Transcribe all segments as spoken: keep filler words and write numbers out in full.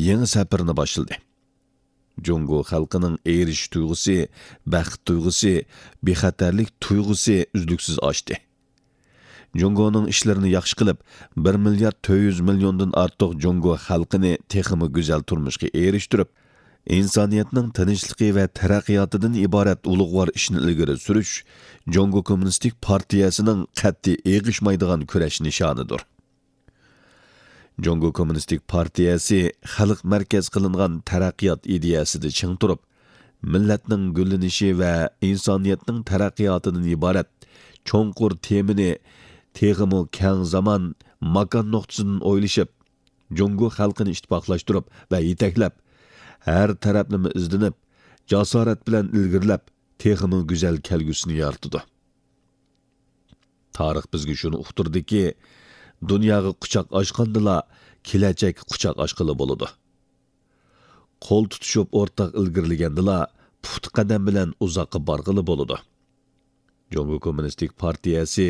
يېڭى سەپىرىنى باشلىدى. جۇڭگو خەلقىنىڭ ئېرىشىش تۇيغۇسى، بەخت تۇيغۇسى، بىخەتەرلىك تۇيغۇسى ئۈزلۈكسىز ئاشتى. جۇڭگونىڭ ئىشلىرىنى ياخشى قىلىپ، بىر مىليارد تۆت يۈز مىليوندىن ئارتۇق جۇڭگو خەلقىنى تېخىمۇ گۈزەل تۇرمۇشقا ئېرىشتۈرۈپ، ئىنسانىيەتنىڭ تىنچلىقى ۋە تەرەققىياتىدىن ئىبارەت ئۇلۇغۋار ئىشنى ئىلگىرى سۈرۈش جۇڭگو كوممۇنىستىك پارتىيەسىنىڭ قەتئىي ئېغىشمايدىغان كۈرەش نىشانىدۇر. جۇڭگو كوممۇنىستىك پارتىيەسى خەلق مەركەز قىلىنغان تەرەققىيات ئىدىيەسىدە چىڭ تۇرۇپ، مىللەتنىڭ گۈللىنىشى ۋە ئىنسانىيەتنىڭ تەرەققىياتىدىن ئىبارەت چوڭقۇر تېمىنى تېخىمۇ كەڭ زامان، ماكان نۇقتىسىدىن ئويلىشىپ، جۇڭگو خەلقىنى ئىتتىپاقلاشتۇرۇپ ۋە يېتەكلەپ، ھەر تەرەپلىمە ئىزدىنىپ، جاسارەت بىلەن ئىلگىرىلەپ، تېخىمۇ گۈزەل كەلگۈسىنى يارىتىدۇ. تارىخ بىزگە شۇنى ئۇقتۇردىكى، دۇنياغا قۇچاق ئاچقاندىلا، كېلەچەككە قۇچاق ئاچقىلى بولىدۇ. قول تۇتۇشۇپ ئورتاق ئىلگىرىلىگەندىلا، پۇختا قەدەم بىلەن ئۇزاققا بارغىلى بولىدۇ. جۇڭگو كوممۇنىستىك پارتىيەسى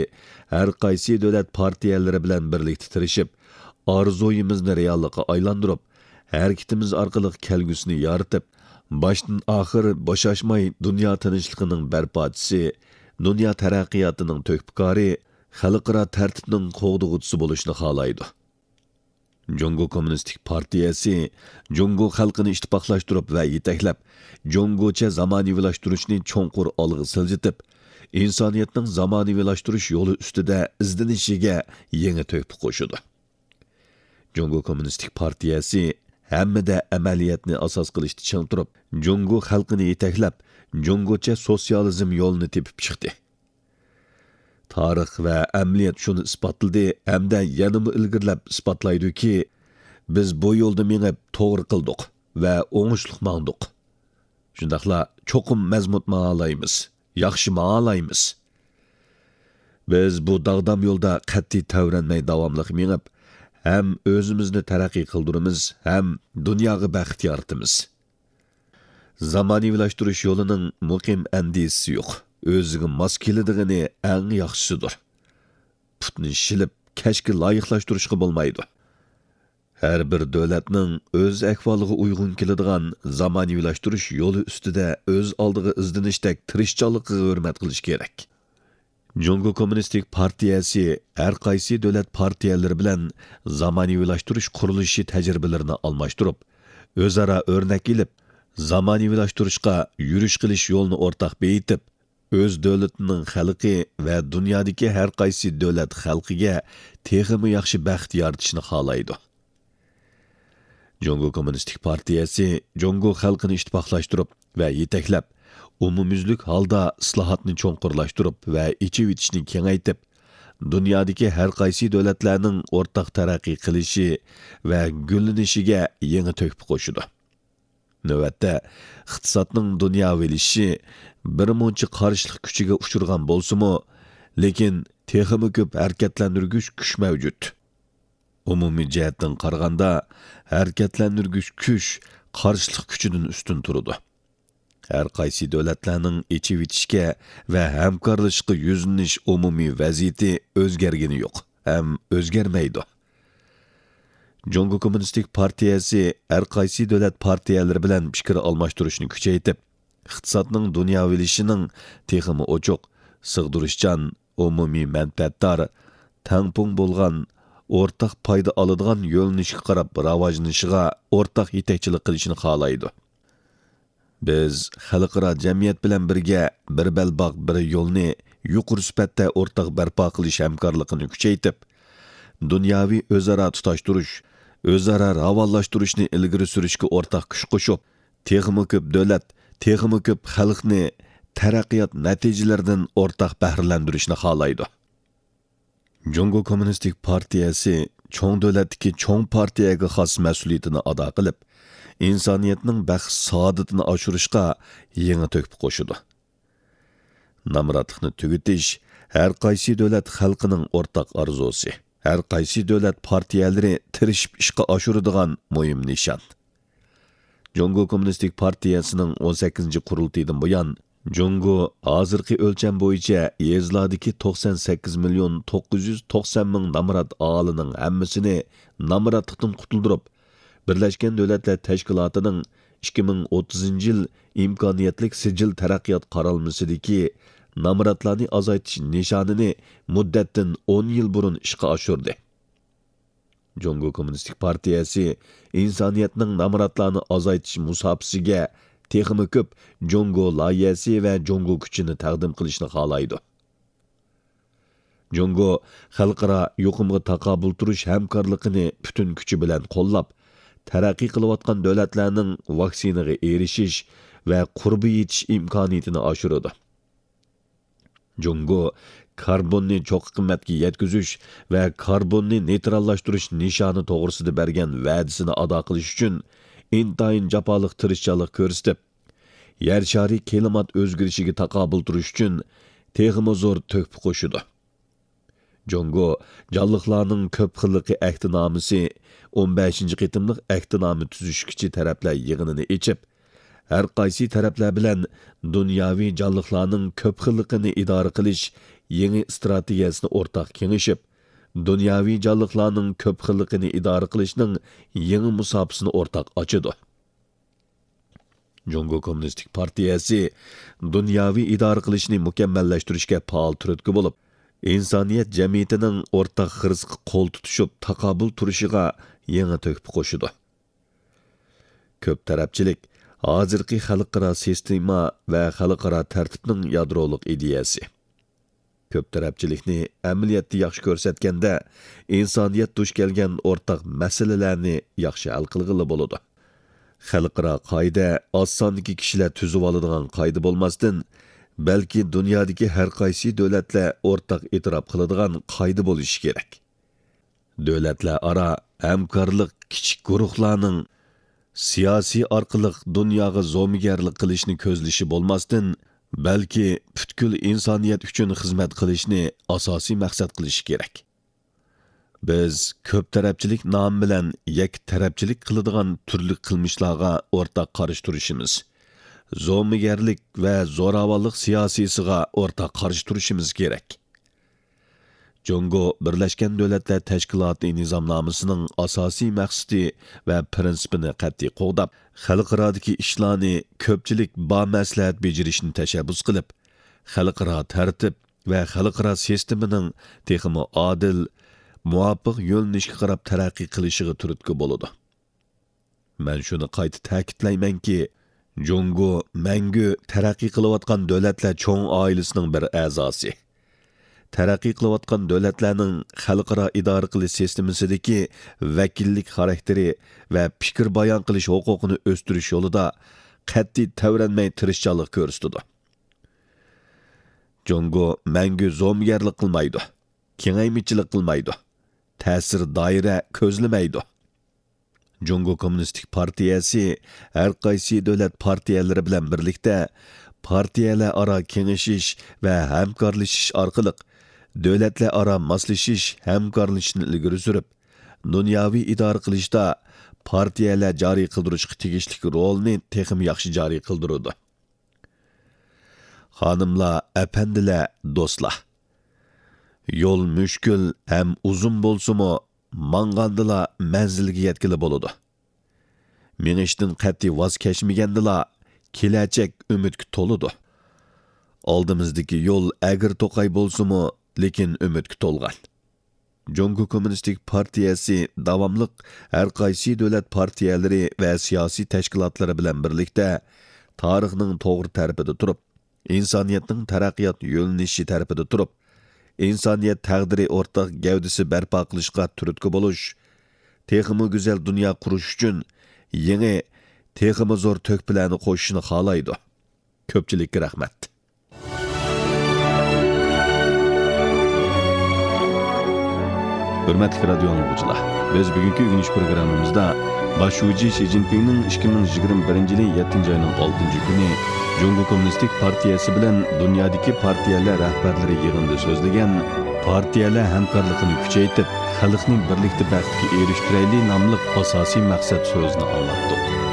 ھەر قايسى دۆلەت پارتىيەلىرى بىلەن بىرلىكتە تىرىشىپ، ئارزۇيىمىزنى رېئاللىققا ئايلاندۇرۇپ، ھەرىكىتىمىز ئارقىلىق كەلگۈسىنى يارىتىپ، باشتىن ئاخىر بوشاشماي دۇنيا تىنچلىقىنىڭ بەرپاچىسى، دۇنيا تەرەققىياتىنىڭ تۆھپىكارى، خەلقئارا تەرتىپنىڭ قوغدىغۇچىسى بولۇشنى خالايدۇ. جۇڭگو كوممۇنىستىك پارتىيەسى جۇڭگو خەلقىنى ئىتتىپاقلاشتۇرۇپ ۋە يېتەكلەپ، جۇڭگوچە زامانىۋىلاشتۇرۇشنى چوڭقۇر ئالغا سىلجىتىپ، ئىنسانىيەتنىڭ زامانىۋىلاشتۇرۇش يولى ئۈستىدە ئىزدىنىشىگە يېڭى تۆھپە قوشىدۇ. جۇڭگو كوممۇنىستىك پارتىيەسى ھەممىدە ئەمەلىيەتنى ئاساس قىلىشتا چىڭ تۇرۇپ، جۇڭگو خەلقىنى يېتەكلەپ، جۇڭگوچە سوتسىيالىزم يولىنى تېپىپ چىقتى. تارىخ ۋە ئەمەلىيەت شۇنى ئىسپاتلىدى ھەمدە يەنىمۇ ئىلگىرىلەپ ئىسپاتلايدۇكى، بىز بۇ يولدا مېڭىپ توغرا قىلدۇق ۋە ئوڭۇشلۇق ماڭدۇق. شۇنداقلا چوقۇم مەزمۇت ماڭالايمىز، ياخشى ماڭالايمىز. بىز بۇ داغدام يولدا قەتئىي تەۋرەنمەي داۋاملىق مېڭىپ، ھەم ئۆزىمىزنى تەرەققىي قىلدۇرىمىز، ھەم دۇنياغا بەخت يارىتىمىز. زامانىۋىلاشتۇرۇش يولىنىڭ مۇقىم ئەندىزىسى يوق، ئۆزىگە ماس كېلىدىغىنى ئەڭ ياخشىسىدۇر. پۇتنى شىلىپ، كەشكە لايىقلاشتۇرۇشقا بولمايدۇ. ھەر بىر دۆلەتنىڭ ئۆز ئەھۋالىغا ئۇيغۇن كېلىدىغان زامانىۋىلاشتۇرۇش يولى ئۈستىدە ئۆز ئالدىغا ئىزدىنىشتەك تىرىشچانلىقىغا ھۆرمەت قىلىش كېرەك. جۇڭگو كوممۇنىستىك پارتىيەسى ھەر قايسى دۆلەت پارتىيەلىرى بىلەن زامانىۋىلاشتۇرۇش قۇرۇلۇشى تەجرىبىلىرىنى ئالماشتۇرۇپ، ئۆزئارا ئۆرنەك ئېلىپ، زامانىۋىلاشتۇرۇشقا يۈرۈش قىلىش يولىنى ئورتاق بېيىتىپ، ئۆز دۆلىتىنىڭ خەلقى ۋە دۇنيادىكى ھەر قايسى دۆلەت خەلقىگە تېخىمۇ ياخشى بەخت يارىتىشنى خالايدۇ. جۇڭگو كوممۇنىستىك پارتىيەسى جۇڭگو خەلقىنى ئىتتىپاقلاشتۇرۇپ ۋە يېتەكلەپ، ئومۇميۈزلۈك ھالدا ئىسلاھاتنى چوڭقۇرلاشتۇرۇپ ۋە ئېچىۋېتىشنى كېڭەيتىپ، دۇنيادىكى ھەر قايسى دۆلەتلەرنىڭ ئورتاق تەرەققىي قىلىشى ۋە گۈللىنىشىگە يېڭى تۆھپە قوشىدۇ. نۆۋەتتە، ئىقتىسادنىڭ دۇنياۋىلىشىشى بىر مۇنچە قارشىلىق كۈچىگە ئۇچرىغان بولسىمۇ، لېكىن تېخىمۇ كۆپ ھەرىكەتلەندۈرگۈچ كۈچ مەۋجۇت. ئومۇمىي جەھەتتىن قارىغاندا، ھەرىكەتلەندۈرگۈچ كۈچ قارشىلىق كۈچىدىن ئۈستۈن تۇرىدۇ. ھەر قايسى دۆلەتلەرنىڭ ئېچىۋېتىشكە ۋە ھەمكارلىشىشقا يۈزلىنىش ئومۇمىي ۋەزىيىتى ئۆزگەرگىنى يوق ھەم ئۆزگەرمەيدۇ. جۇڭگو كوممۇنىستىك پارتىيەسى ھەر قايسى دۆلەت پارتىيەلىرى بىلەن پىكىر ئالماشتۇرۇشنى كۈچەيتىپ، ئىقتىسادنىڭ دۇنياۋىلىشىشىنىڭ تېخىمۇ ئوچۇق، سىغدۇرۇشچان، ئومۇمىي مەنپەئەتدار، تەڭپۇڭ بولغان، ئورتاق پايدا ئالىدىغان يۆنىلىشكە قاراپ راۋاجلىنىشىغا ئورتاق يېتەكچىلىك قىلىشنى خالايدۇ. بىز خەلقئارا جەمئىيەت بىلەن بىرگە بىر بەلباغ، بىر يولنى يۇقىرى سۈپەتتە ئورتاق بەرپا قىلىش ھەمكارلىقىنى كۈچەيتىپ، دۇنياۋى ئۆزئارا تۇتاشتۇرۇش، ئۆزئارا راۋانلاشتۇرۇشنى ئىلگىرى سۈرۈشكە ئورتاق كۈچ قوشۇپ، تېخىمۇ كۆپ دۆلەت، تېخىمۇ كۆپ خەلقنى تەرەققىيات نەتىجىلىرىدىن ئورتاق بەھرىلەندۈرۈشنى خالايدۇ. جۇڭگو كوممۇنىستىك پارتىيەسى چوڭ دۆلەتتىكى چوڭ پارتىيەگە خاس مەسئۇلىيىتىنى ئادا قىلىپ، ئىنسانىيەتنىڭ بەخت-سائادىتىنى ئاشۇرۇشقا يېڭى تۆھپە قوشىدۇ. نامراتلىقنى تۈگىتىش ھەر قايسى دۆلەت خەلقىنىڭ ئورتاق ئارزۇسى، ھەر قايسى دۆلەت پارتىيەلىرى تىرىشىپ ئىشقا ئاشۇرىدىغان مۇھىم نىشان. جۇڭگو كوممۇنىستىك پارتىيەسىنىڭ ئون سەككىزىنچى قۇرۇلتىيىدىن بۇيان، جۇڭگو ھازىرقى ئۆلچەم بويىچە يېزىلاردىكى توقسان سەككىز مىليون توققۇز يۈز توقسان مىڭ نامرات ئاھالىنىڭ ھەممىسىنى نامراتلىقتىن قۇتۇلدۇرۇپ، بىرلەشكەن دۆلەتلەر تەشكىلاتىنىڭ ئىككى مىڭ ئوتتۇزىنچى يىل ئىمكانىيەتلىك سىجىل تەرەققىيات قارالمىسىدىكى نامراتلارنى ئازايتىش نىشانىنى مۇددەتتىن ئون يىل بۇرۇن ئىشقا ئاشۇردى. جۇڭگو كوممۇنىستىك پارتىيەسى ئىنسانىيەتنىڭ نامراتلارنى ئازايتىش مۇساپىسىگە تېخىمۇ كۆپ جۇڭگو لايىھەسى ۋە جۇڭگو كۈچىنى تەقدىم قىلىشنى خالايدۇ. جۇڭگو خەلقئارا يۇقۇمغا تاقابىل تۇرۇش ھەمكارلىقىنى پۈتۈن كۈچى بىلەن قوللاپ، تەرەققىي قىلىۋاتقان دۆلەتلەرنىڭ ۋاكسىنىغا ئېرىشىش ۋە قۇربى يېتىش ئىمكانىيىتىنى ئاشۇرىدۇ. جۇڭگو كاربوننى چوققا قىممەتكە يەتكۈزۈش ۋە كاربوننى نېيتراللاشتۇرۇش نىشانى توغرىسىدا بەرگەن ۋەدىسىنى ئادا قىلىش ئۈچۈن ئىنتايىن جاپالىق تىرىشچانلىق كۆرسىتىپ، يەر شارى كىلىمات ئۆزگىرىشىگە تاقابىل تۇرۇش ئۈچۈن تېخىمۇ زور تۆھپە قوشىدۇ. جۇڭگو جانلىقلارنىڭ كۆپ خىللىقى ئەھدىنامىسى ئون بەشىنچى قېتىملىق ئەھدىنامە تۈزۈشكۈچى تەرەپلەر يىغىنىنى ئېچىپ، ھەر قايسى تەرەپلەر بىلەن دۇنياۋى جانلىقلارنىڭ كۆپ خىللىقىنى ئىدارە قىلىش يېڭى ئىستراتېگىيەسىنى ئورتاق كېڭىشىپ، دۇنياۋى جانلىقلارنىڭ كۆپ خىللىقىنى ئىدارە قىلىشنىڭ يېڭى مۇساپىسىنى ئورتاق ئاچىدۇ. جۇڭگو كوممۇنىستىك پارتىيەسى دۇنياۋى ئىدارە قىلىشنى مۇكەممەللەشتۈرۈشكە پائال تۈرتكە بولۇپ، ئىنسانىيەت جەمئىيىتىنىڭ ئورتاق خىرىسقا قول تۇتۇشۇپ تاقابىل تۇرۇشىغا يېڭى تۆھپە قوشىدۇ. كۆپ تەرەپچىلىك ھازىرقى خەلقئارا سىستېما ۋە خەلقئارا تەرتىپنىڭ يادرولۇق ئىدىيەسى. كۆپ تەرەپچىلىكنى ئەمەلىيەتتە ياخشى كۆرسەتكەندە، ئىنسانىيەت دۇچ كەلگەن ئورتاق مەسىلىلەرنى ياخشى ھەل قىلغىلى بولىدۇ. خەلقئارا قائىدە ئاز ساندىكى كىشىلەر تۈزۈۋالىدىغان قائىدە بولماستىن، بەلكى دۇنيادىكى ھەر قايسى دۆلەتلەر ئورتاق ئېتىراپ قىلىدىغان قائىدە بولۇشى كېرەك. دۆلەتلەر ئارا ھەمكارلىق كىچىك گۇرۇھلارنىڭ سىياسىي ئارقىلىق دۇنياغا زومىگەرلىك قىلىشنى كۆزلىشى بولماستىن، بەلكى پۈتكۈل ئىنسانىيەت ئۈچۈن خىزمەت قىلىشنى ئاساسىي مەقسەت قىلىشى كېرەك. بىز كۆپ تەرەپچىلىك نامى بىلەن يەككە تەرەپچىلىك قىلىدىغان تۈرلۈك قىلمىشلارغا ئورتاق قارشى تۇرۇشىمىز، زومىگەرلىك ۋە زوراۋانلىق سىياسىيسىغا ئورتاق قارشى تۇرۇشىمىز كېرەك. جۇڭگو بىرلەشكەن دۆلەتلەر تەشكىلاتى نىزامنامىسىنىڭ ئاساسىي مەقسىتى ۋە پىرىنسىپىنى قەتئىي قوغداپ، خەلقئارادىكى ئىشلارنى كۆپچىلىك بامەسلىھەت بېجىرىشنى تەشەببۇس قىلىپ، خەلقئارا تەرتىپ ۋە خەلقئارا سىستېمىنىڭ تېخىمۇ ئادىل، مۇۋاپىق يۆنىلىشكە قاراپ تەرەققىي قىلىشىغا تۈرتكە بولىدۇ. مەن شۇنى قايتا تەكىتلەيمەنكى، جۇڭگو مەڭگۈ تەرەققىي قىلىۋاتقان دۆلەتلەر چوڭ ئائىلىسىنىڭ بىر ئەزاسى. تەرەققىي قىلىۋاتقان دۆلەتلەرنىڭ خەلقئارا ئىدارە قىلىش سىستېمىسىدىكى ۋەكىللىك خاراكتېرى ۋە پىكىر بايان قىلىش ھوقۇقىنى ئۆستۈرۈش يولىدا قەتئىي تەۋرەنمەي تىرىشچانلىق كۆرسىتىدۇ. جۇڭگو مەڭگۈ زومىگەرلىك قىلمايدۇ، كېڭەيمىچىلىك قىلمايدۇ، تەسىر دائىرە كۆزلىمەيدۇ. جۇڭگو كوممۇنىستىك پارتىيەسى ھەر قايسى دۆلەت پارتىيەلىرى بىلەن بىرلىكتە پارتىيەلەر ئارا كېڭىشىش ۋە ھەمكارلىشىش ئارقىلىق دۆلەتلەر ئارا ماسلىشىش، ھەمكارلىشىشنى ئىلگىرى سۈرۈپ، دۇنياۋى ئىدارە قىلىشتا پارتىيەلەر جارى قىلدۇرۇشقا تېگىشلىك رولىنى تېخىمۇ ياخشى جارى قىلدۇرىدۇ. خانىملار، ئەپەندىلەر، دوستلار! يول مۈشكۈل ھەم ئۇزۇن بولسىمۇ، ماڭغاندىلا مەنزىلگە يەتكىلى بولىدۇ. مېڭىشتىن قەتئىي ۋاز كەچمىگەندىلا، كېلەچەك ئۈمىدكە تولىدۇ. ئالدىمىزدىكى يول ئەگرى توقاي بولسىمۇ، لېكىن ئۈمىدكە تولغان. جۇڭگو كوممۇنىستىك پارتىيەسى داۋاملىق ھەر قايسى دۆلەت پارتىيەلىرى ۋە سىياسىي تەشكىلاتلىرى بىلەن بىرلىكتە تارىخنىڭ توغرا تەرىپىدە تۇرۇپ، ئىنسانىيەتنىڭ تەرەققىيات يۆنىلىشى تەرىپىدە تۇرۇپ، ئىنسانىيەت تەقدىرى ئورتاق گەۋدىسى بەرپا قىلىشقا تۈرتكە بولۇش، تېخىمۇ گۈزەل دۇنيا قۇرۇش ئۈچۈن يېڭى، تېخىمۇ زور تۆھپىلەرنى قوشۇشنى خالايدۇ. كۆپچىلىككە رەھمەت. ھۆرمەتلىك رادىيو ئاڭلىغۇچىلار، بىز بۈگۈنكى ئۆگىنىش پروگراممىمىزدا باش شۇجى شى جىنپىڭنىڭ ئىككى مىڭ يىگىرمە بىرىنچى يىلى يەتتىنچى ئاينىڭ ئالتىنچى كۈنى جۇڭگو كوممۇنىستىك پارتىيەسى بىلەن دۇنيادىكى پارتىيەلەر رەھبەرلىرى يىغىنىدا سۆزلىگەن پارتىيەلەر ھەمكارلىقىنى كۈچەيتىپ، خەلقنى بىرلىكتە بەختكە ئېرىشتۈرەيلى ناملىق ئاساسىي مەقسەت سۆزىنى ئاڭلاتتۇق.